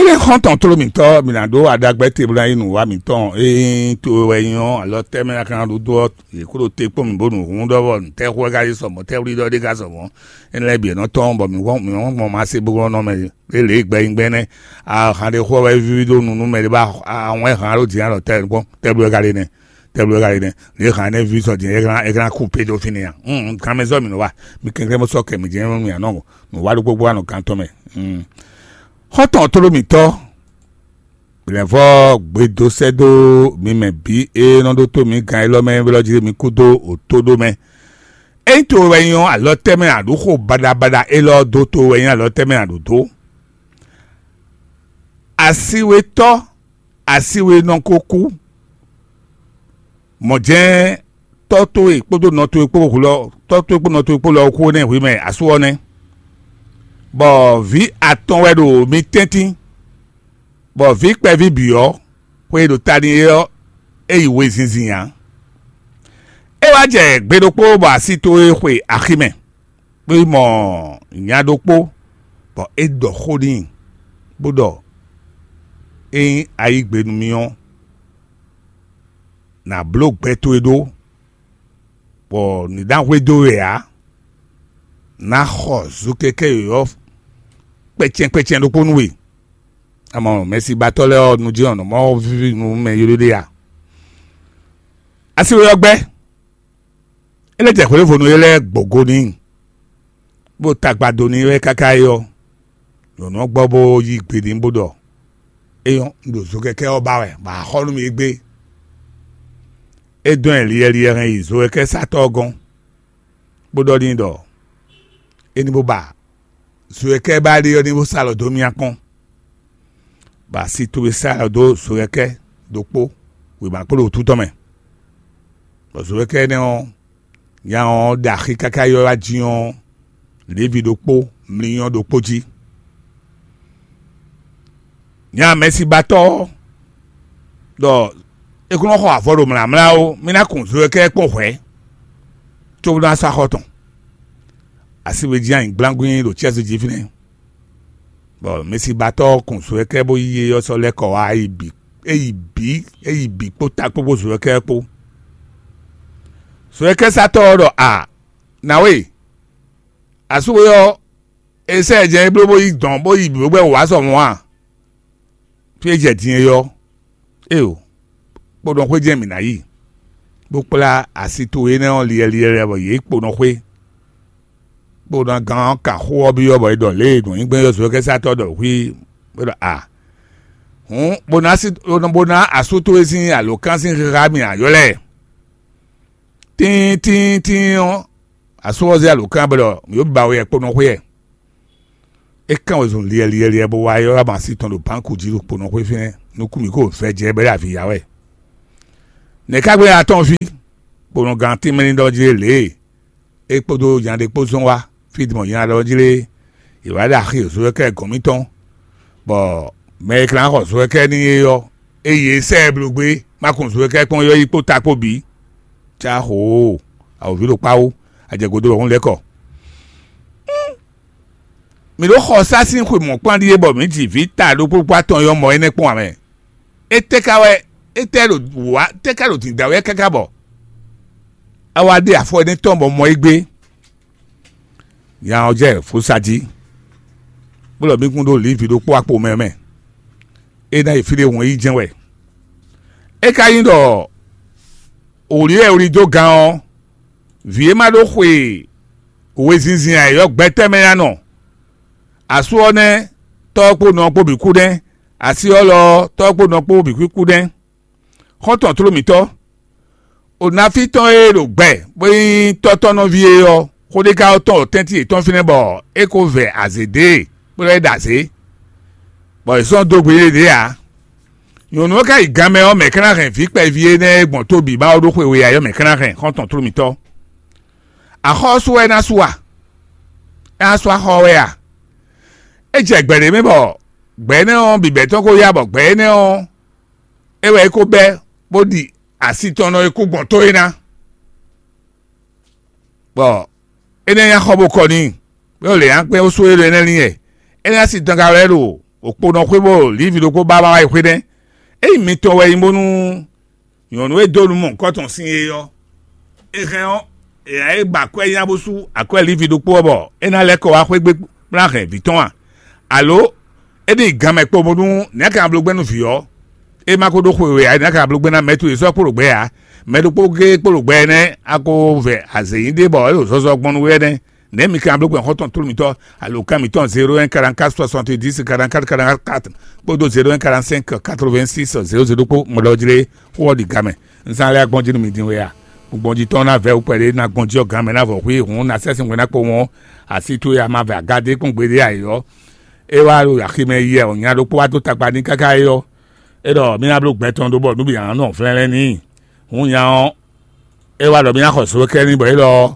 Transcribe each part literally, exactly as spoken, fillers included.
Lé xɔ́ntɔn tló mǐtɔn, mǐ ná ɖó aɖagbɛ́ te bó ná yí nǔwá mǐtɔn e nyí to wɛ nyí ɔ́, alɔ tɛ́ mɛ ná ka ná ɖó dó ɔ́, yě kó ɖo te kpɔ́n mǐ bó nǔ hun ɖɔ bɔ nǔtɛ́ xó wɛ ka yí sɔ mɔ̌, tɛ́ wlí ɖɔ ɖé ka sɔ mɔ̌. Énɛ́ lɛ́ɛ bǐ e nɔ tɔ́n bɔ mǐ wɔn mǐ wɔn gbɔn ma se bó nɔ mɛ lě lě gbɛ nyí gbɛ́ nɛ́. Ahan ɖé xó wɛ ví ɖó nu nú mɛ ɖé bá ahɔn wɛ han ɖó din alɔ tɛ́ kpɔ́n tɛ́ bló wɛ ka ɖe nɛ́. Tɛ́ bló wɛ ka ɖe nɛ́. Lě han énɛ́ ví sɔ din é ka ná kú pé dó fínɛ́ a? Kanmɛ zɔ́ mǐ nɔ wa. Mi kɛnklɛ́n bó sɔ́ kɛ mǐ jɛ́n mì anɔ nǔ wa ɖokpó gbɔ anɔ gán tɔn mɛ. Xɔ́ntɔn tló mǐtɔn, lɛ̌nvɔ́ gbedo sɛ́ dó mi mɛ bǐ e nɔ ɖótó mǐ gán élɔ́ mɛ ylɔ́ jí mi kú dó òtóɖó mɛ. Ényí to wɛ nyí ɔ́, alɔ tɛ́ mɛ aɖǔxo baɖabaɖa élɔ́ dó to wɛ nyí alɔ tɛ́ mɛ aɖǔ dó. Asiwetɔ́, asiwe nɔ ko kú. Mɔ̌ jɛ́n tɔ́ towe kpódó nɔ towe kpó hulɔ tɔ́ towe kpó nɔ towe kpó lɔ kú nɛ́ hwi mɛ asú ɔ́ nɛ́, bɔ vǐ atɔn wɛ ɖo mi tɛ́ntin, bɔ vǐ kpɛví bǐ ɔ́, xwe e ɖo ta n'i é ɔ́, é yi wezinzin ǎ. É wá jɛ gbe ɖokpó bɔ asi towe xwe axi mɛ, bó yi mɔ nya ɖokpó, bɔ é ɖɔ xó n'i, bó ɖɔ: "Ényí a yí gbe nú mì ɔ́, nǎ bló gbɛ towe ɖó, bɔ nǔ ná hwedó we ǎ. Ná xɔ zokɛkɛ́ yɔ̌yɔ́ kpɛcɛn kpɛcɛn ɖokpó nú we." Amɔ mɛsibatɔ́ lɛ́ɛ ɔ́, nú jɛ́n ɔ́, nǔ mɔ víví nú mɛ ylɔ́ ɖé a? Asi we ɔ́ gbɛ́, é lɛ́ jɛ hwěvonu e lɛ́ɛ gbɔ̌ go n'i, bó tagba dó n'i wɛ káká é ɔ́, nyɔ̌nu ɔ́ gbɔ bó yí gbe n'i bó ɖɔ: "Éyɔ́, un ɖo zokɛkɛ́ ɔ́ ba wɛ, bɔ a xɔ nú mì égbé." É dɔn ɛ liɛliɛ hɛn yi zokɛkɛ́satɔ́ ɔ́ gɔ́n, bó ɖɔ n'i ɖɔ: "É ní bó ba zokɛkɛ́ ba ɖe ɔ́ ní bó sa alɔ dó mì akpɔ́n." Bɔ asi towe sá alɔ dó zokɛkɛ́ ɖokpó wěma kpó ɖo wútu tɔn mɛ, bɔ zokɛkɛ́ énɛ́ ɔ́, nya ɔ́ ɖe axi káká yi wá jí ɔ́, Levi ɖokpó, mlínyɔ́ ɖokpó jí. Nya mɛsibatɔ́ ɔ́ ɖɔ é kún nɔ xɔ avɔ ɖo mlǎmlá ó, mì ná kun zokɛkɛ́ kpɔ́n hwɛ̌, cóbó ná sɔ́ axɔ tɔn. Asi we jí anyǐgblángbín ɖo cɛ́zú jí fínɛ́, bɔ mɛsibatɔ́ ɔ́ kun zokɛkɛ́ bó yí é ɔ́ sɔ́ lɛ́ kɔ wá é yi bǐ é yi bǐ é yi bǐ kpó ta kpó kpó zokɛkɛ́ kpó. Zokɛkɛ́satɔ́ ɔ́ ɖɔ: "A, nǎwe, asú we ɔ́, è sɛ́ ɛ jɛ é bló bó yi dɔ̌n bó yi bǐ bó gbɛ́ wǔ wá sɔ mɔ̌ a? Fí e jɛ din é ɔ́, éeǒ, kpódɔn xwé jɛ́n mǐ ná yi, bó kplá asi towe énɛ́ ɔ́ liɛliɛ lɛ́ɛ bɔ yě kpo nɔ xwé." Kpódɔ́ gán ɔ́ kan xó ɔ́ byɔ́ bɔ è ɖɔ lě e nǔnyigbɛ́n yɔ́zɔ́kɛ́satɔ́ ɖɔ xwí bó ɖɔ: "A, hǔn bó ná sí bó ná asú towe sín alǒkan sín xixa mì ǎ ylɔ́ ɛ." Tíin tíin tíin ɔ́, asú ɔ́ zé alǒkan bɔ ɖɔ mǐ ɖo biba we wɛ kpo nɔ xwé ɛ. É kán wezun liɛliɛliɛ bó wá ylɔ́ ama sí tɔn ɖo bǎnku jí ɖo kpo nɔ xwé fínɛ́, nukún mǐ ko vɛ́ jɛ bɔ é ɖo avǐ ya wɛ. Nɛ̌ ká gbé atɔ́ɔ́n fí? Kponɔgán tínmɛ ní ɖɔ jí lě e é kpódó nya ɖé kpó zɔn wá fí dimɔ nya ɖɔ jí lé, yě wá ɖo axi e Zowɛkɛ́ gɔ̌n mitɔn, bɔ mɛ e ka ná xɔ Zowɛkɛ́ n'i é ɔ́, é yi e sɛ́ ɛ bló gbé, má kun Zowɛkɛ́ kpɔ́n yɔ́yí kpó ta kpó bǐ. Cá xoo, awǒvi ɖo kpáwó, ajɛgodó ɖɔhun lɛ́ kɔ. Mǐ ɖo xɔ sá sín xwe mɔ̌kpán ɖíe bɔ mǐ ji vǐ ta ɖokpó kpó atɔn e ɔ́ mɔ énɛ́ kpɔ́n ǎ mɛ. Étɛ́ ka wɛ étɛ́ ɖo wǔ wá tɛ́ ka ɖo dǐndá wɛ káká bɔ é wá ɖe afɔ énɛ́ tɔn bɔ mɔ é gbé? Nya ɔ́ jɛ fusa jí, bó ɖɔ mí kún ɖó Livi ɖokpó akpo mɛ mɛ. É ná yi fí ɖé hɔn yi jɛ́n wɛ. É ka nyí ɖɔ wǔ lí wɛ wlí dó gan ɔ́, vǐ e ma ɖó xwe wězinzin ǎ é ɔ́, gbɛtɛ́ mɛ ná nɔ. Asú ɔ́ nɛ́, tɔ́ ɔ́ kpó nɔ ɔ́ kpó bǐ kú nɛ́; así ɔ́ lɔ ɔ́, tɔ́ ɔ́ kpó nɔ ɔ́ kpó bǐ kú nɛ́. Xɔ́ntɔn tló mǐtɔn, Onaví tɔn e ɖo gbɛ bó nyí tɔ́tɔ́nɔví é ɔ́, xó ɖé ka ɔ́ tɔn ɖo tɛ́ntin yětɔn fínɛ́ bɔ é ko vɛ azě dó e, bó lɛ́ ɖe azě, bɔ è sɔ́ dó gbe yéɖée ǎ. Nyɔ̌nu ɔ́ ka yi ganmɛ ɔ́, mɛ̌ ka ná hɛn vǐ kpɛví énɛ́ e gbɔn tó bǐ ba ɔ́ ɖó xwe we ǎ ɔ́, mɛ̌ ka ná hɛn? Xɔ́ntɔn tló mǐtɔn, axɔ́ ɔ́ sú wɛ é ná sú a? É ná sú axɔ́ ɔ́ wɛ a? É jɛ gbɛ ɖé mɛ bɔ gbɛ énɛ́ ɔ́ bǐbɛ́ tɔn ko yá bɔ gbɛ énɛ́ ɔ́, é wɛ é ko bɛ́, bó ɖi asi tɔn nɔ e kú gbɔn tó é ná. Bɔ énɛ́ nyí axɔ́ bó kɔ n'i, bó lě nyankpɛ́n bó sú é ɖo énɛ́ lin wɛ. Énɛ́ asi tɔn ka wɛ ɖo òkponɔ xwé bó lívi ɖokpó ba wá yi xwé nɛ́. Ényí mitɔn wɛ nyí bónú nyɔ̌nu e dó nú mɔ nǔkɔ tɔn sín é ɔ́, é hɛn ɔ́, è nǎ yi gba akwɛ́ nya bó sú akwɛ́ lívi ɖokpó ɔ́ bɔ é ná lɛ́ kɔ wá xwé gbe bó ná hɛn vǐ tɔn a? Alo é ní yi gan mɛ kpo bónú nɛ̌ ka bló gbɛ́ nú vǐ ɔ́? É ma ko ɖó xwe we ǎ, é ná ka bló gbɛ́ ná mɛ towe sɔ́ kpo ɖo gbɛ ǎ. Mɛ ɖokpó géé kpo ɖo gbɛ énɛ́ a ko vɛ azě nyi ɖé bɔ é ɖo zɔzɔ gbɔn nú we énɛ́. Nɛ̌ mi ka bló gbɛn xɔ́ntɔn tlóló mitɔ́ alo kan mitɔn zéro un quarante-quatre soixante-dix quarante-quatre quarante-quatre kpódó zéro un quarante-cinq quatre-vingt-six zéro zéro kpó mɔɖɔjlé xó ɔ́ ɖi gamɛ. Un zán lɛ́ gbɔn jí nú mi din we a? Gbɔn jí tɔn ná vɛ́ wú kpɛɖé ná gbɔn jí ɔ́ gan mɛ ná vɔ hwí hǔn ná sɛ́ sín hwɛ ná kpo wɔn asi towe a ma vɛ agádé kpɔ́n gbeɖé ǎ é ɔ́, é wá ɖo aximɛ yi wɛ ɔ́ nya ɖokpó wá dó tagba n'i káká é ɔ́, é ɖɔ mí ná bló gbɛ tɔn ɖó bɔ nǔ bǐ ná nɔ vlɛ́nlɛ́n n'i. Hǔn nya ɔ́, é wá ɖɔ mí ná xɔ zowekɛ́ n'i bɔ é lɔ ɔ́,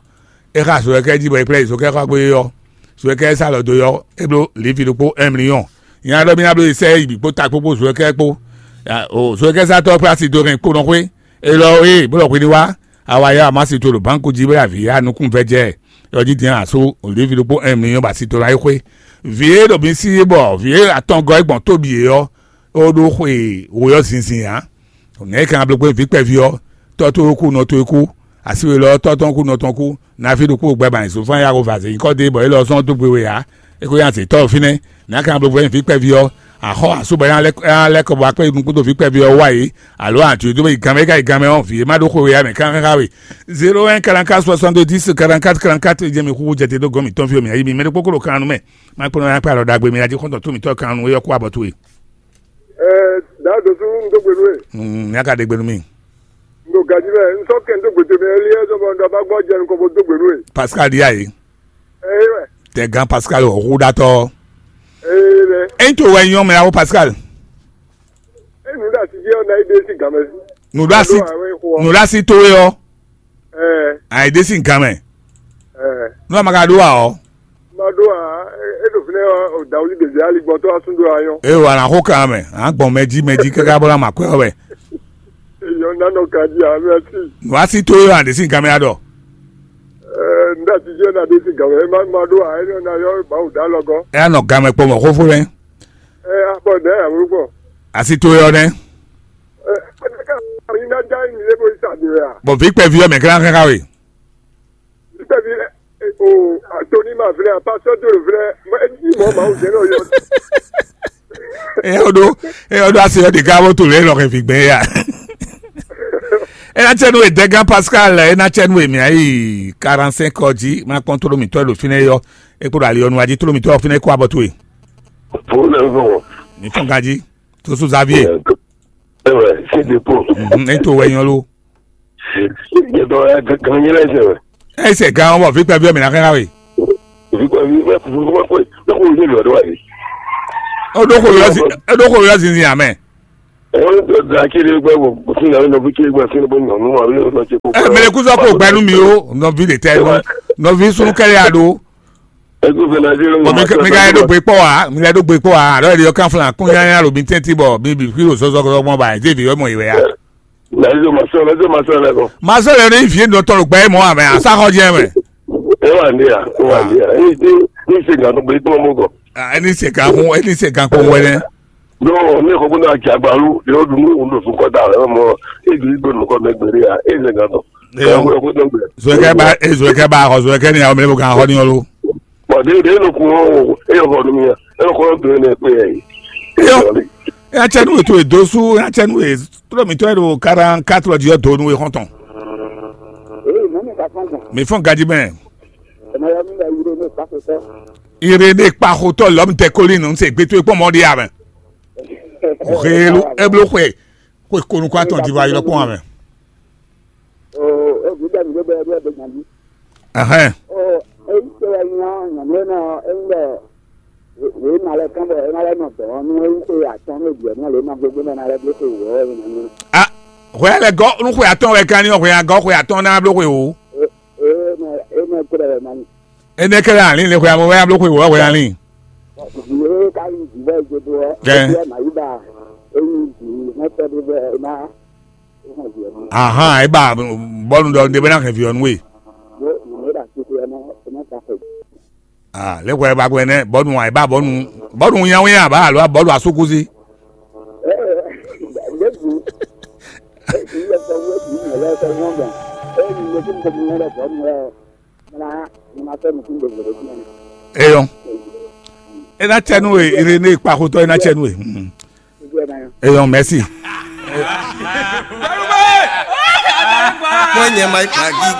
é xa zowekɛ́ jí bɔ é kplá yi zokɛ́xɔ́gbé ɔ́, zowekɛ́ e sá lɔ dó ɔ́, é bló livi ɖokpó un million. Nya ɖɔ mí ná bló yi sɛ́ yi bǐ kpó ta kpó kpó zowekɛ́ kpó. O zowekɛ́sátɔ́ ɔ́ kplá asi dó hɛn kponɔ xwé, é lɔ ɔ́, ée bó lɔ hwi ní wá, a wá yá amá si to ɖo bánku jí bó yi avǐ yá nukún vɛ́ jɛ ɔ́ jí din asú livi ɖokpó un million bɔ asi to ná yi xwé. Vǐ e ɖo mi sí bɔ vǐ e atɔngɔ́ é gbɔn tóbí é ɔ́, ó ɖó xwe wǒyɔ́ zinzin ǎ. Nɛ̌ é ka ná bló gbé vǐ kpɛví ɔ́? Tɔ́ towe kú, nɔ towe kú, asi we lɔ ɔ́, tɔ́ tɔn kú, nɔ tɔn kú, nǎví ɖokpó gbɛ ba nyi zǒfán yá xo vǎ zě nyǐkɔ dó e bɔ é lɔ zɔ́n dó gbe we ǎ. É ko nyi azětɔ́ ɖo fínɛ́. Nǎ ka ná bló gbé vǐ kpɛví ɔ́? Axɔ́ asú bɔ é ná lɛ́ kɔ bɔ akpɛ́ nukún dó vǐ kpɛví ɔ́ wá yě, alo ǎ jǒ dó yi gan mɛ, é ka yi gan mɛ ɔ́, vǐ e má ɖó xwe we ǎ mɛ ká xá we. Zéro un quarante-quatre soixante-dix quarante-quatre quarante-quatre jɛ mi xúxú jɛ te dó gɔ́n mǐtɔn fí o mǐ yí mi mɛ ɖokpó kó ɖo kan nú mɛ. Má kplɔ́n nya kplá alɔ ɖagbe mi ná jí xɔ́ntɔn tó mǐtɔn kan nú é ɔ́ kú abɔ towe. Ɛɛ, daa dǒsú un dó gbe nú we. Mm, nya ka ɖe gbe nú mi. Un ɖo gají mɛ, un sɔ́ kɛn dó gbe towe mɛ, éliɛ́ zɔ́ bɔ un ɖɔ bá gbɔ jɛ nukɔn bó dó gbe nú we. Pascal ɖíe a yě. Ɛɛ, wɛ. Tɛ gán Pascal ɔ́ hú ɖatɔ́. Ee, lɛ. Ényí to wɛ nyɔ́ mɛ awo Pascal. E nǔ ɖo asi jí ɔ́, ná yi ɖe sí gǎn mɛ. Nǔɖasi Ado awɛ xo ɔ́. Nǔɖasi towe ɔ́. Ɛɛ, Àyíɖésí nkan mɛ. Ɛɛ, Nú a ma ka ɖó ǎ ɔ́. Ma ɖó a, e ɖo fínɛ́ ɔ́, o dawuli ɖevi aligbɔntɔ́ asúndo ayɔ́. Eye wà ná xó kan mɛ, à ń gbɔn mɛ jí mɛ jí káká bó ná ma kwɛ ɔ́ wɛ. Eyɔ nanɔ ka jí a, mɛsi. Nǔɖasi towe ɔ́, àɖésí nkan mɛ aɖɔ. Ɛɛ, nɖa ti jɛ na ɖe si gǎn mɛ, ma ma ɖó a, e nɔ na yɔ bawu da lɔgɔ. Ɛ anɔ gan mɛ kpɔmɔ xófó lɛ. Ɛ, akpɔ ɖɛ awlo gbɔ. Asi towe ɔ́ nɛ́. Ɛ, ɛ, ka mi na da mi le bo sa de a. Bɔ vi kpɛvi ɔ́ mɛ kla xɛxa we. Nígbà tí o Tony ma vlɛ, pastor Doro vlɛ, mɛ jí mɔ Mawu jɛ náà yɔ. Ɛ o ɖo, ɛ o ɖo ase ɔ́ ɖe ká bó to lě lɔ xɛ fi gbɛn ya. Ena tsɛ nu edɛgan Pascal, ena tsɛ nu emi ayi quarante-cinq ɔ jí ma kpɔn tolo mitɔ ɖo fínɛ yɔ. E kpo ɖo ali ɔnu ají tolo mitɔ fínɛ kó abɔ towe. Fún lɛ fún. Mi fún gají. Tosu Xavier. Ɛ wɛ, c'est des pots. Mhm, e to wɛ nyɔ lo. Yɛtɔ ɛ gan nyɛ lɛ sɛ wɛ. Ɛ sɛ gan wɔ vi kpɛ bi mi na xɛ na we. Vi kpɛ bi mɛ kuku kpɛ kpɛ mɛ kuku yɛ lɔ dɔ wa yi. O ɖo ko yɔ zi, o ɖo ko yɔ zinzin amɛ. Ɛ o da kiri gbɛ wo sin na nɔ vi kiri gbɛ sin bɔ nyɔnu wa bi nɔ tse ko. Ɛ mɛ ku sɔ ko gbɛnu mi o, nɔ vi de tɛ nɔ, nɔ vi sunu kɛlɛ ya do. Ɛ ko fɛ na se lɔ. Bɔn mi ka yɛ do gbe kpɔ wa, mi lɛ do gbe kpɔ wa, alɔ yɛ kan flan kun ya ya lo mi tɛnti bɔ mi bi fi o sɔsɔ kɔsɔ gbɔn ba, ɛ vi yɔ mɔ yi wɛ ya. Lɛzɔ ma sɔ, lɛzɔ ma sɔ lɛ kɔ. Ma sɔ lɛ ní fi nɔ tɔn lùgbà yìí mɔ àmì àsáhọ jẹ mɛ. E wa ndi ya, e wa ndi ya. E ti ni se gan to gbe kpɔn mo kɔ. Ẹni se gan kun, ẹni se gan kun wẹnẹ. N'o ne ko bó na jagbalu yóò dun ní òun lò fún kọ́tà rẹ̀ mọ́ èdè ìgbò nìkan mẹ́gbẹ̀rẹ́ yà é ṣe gan tán. Ẹ yọ kó tó gbẹ. Zọkẹ́ bá ẹ zọkẹ́ bá ọ zọkẹ́ ni àwọn mẹ́lẹ́bù kan họ ní ọlú. Bọ̀dé ìdè ló kún ó ẹ yọ kọ́ ọdún mi yà ẹ yọ kọ́ ọdún mi yà pé ẹ yìí. Ẹ yọ. Ẹ yà tsẹ nú ètò ìdósú, ẹ yà tsẹ nú ètò mi tọ́ ẹ lò quarante-quatre di ọ̀dọ́ nú ẹ xɔntɔn. Ee, mɔmɔ ka fɔn kan. Mi fɔn gadi mɛ. Ɛmɛ yɔ mi lɛ yire ne kpakotɔ. Ire ne kpakotɔ lɔm tɛ koli nu se gbeto ekpɔ mɔ di amɛ. Helu eblo xwe xwe konu kɔ atɔn di va yɔ kpɔn amɛ. O, e bi da mi de bɛ bɛ bɛ nyan bi. Ɛhɛn. O, e yi se wa nya nya ne na e le. Wěma lɛ́ɛ kán bɔ é ná lɛ́ nɔ dɔ̌n nú é nyí xwe atɔ́ɔ́n e bǐ ɔ́ nɔ lě ma gbégbé mɛ ná lɛ́ bló xwe wǒ ɔ́ é ná nyí. A hwɛ lɛ́ gɔ́ nú xwe atɔ́ɔ́n wɛ gán ní ɔ́, hwɛ a gɔ́ xwe atɔ́ɔ́n ná bló xwe wǒ. É é mɛ é mɛ kó ɖɛ wɛ ma nyí. Énɛ́ kɛ́ lɛ́ alín le xwe amɔ wɛ ná bló xwe wǒ ɔ́ hwɛ alín. Vǐ e ka nyí vǐ bɔ é dó ɔ́, Kɛ́. É byɔ́ ná yí ba é nyí vǐ mɛ tɛ́ ɖé bɔ é ná é hɛn vǐ ɔ́ nú. Ahan, é ba bɔ́nu ɖɔ un ɖe bɛ ná hɛn vǐ ɔ́ nú we. Yě yě mɛ ɖo asixo ɔ́ ná é ná sa xwe. Ah, lɛ́ hwɛ ba gbɛ nɛ́ bɔnu a ba bɔnu bɔnu nyawé a ba alo bɔnu asúkúsi. Eyɔn. E na cɛ nú we, ere ne kpa xotɔ e na cɛ nú we. Eyɔn, merci. Mwenye Mike Magi.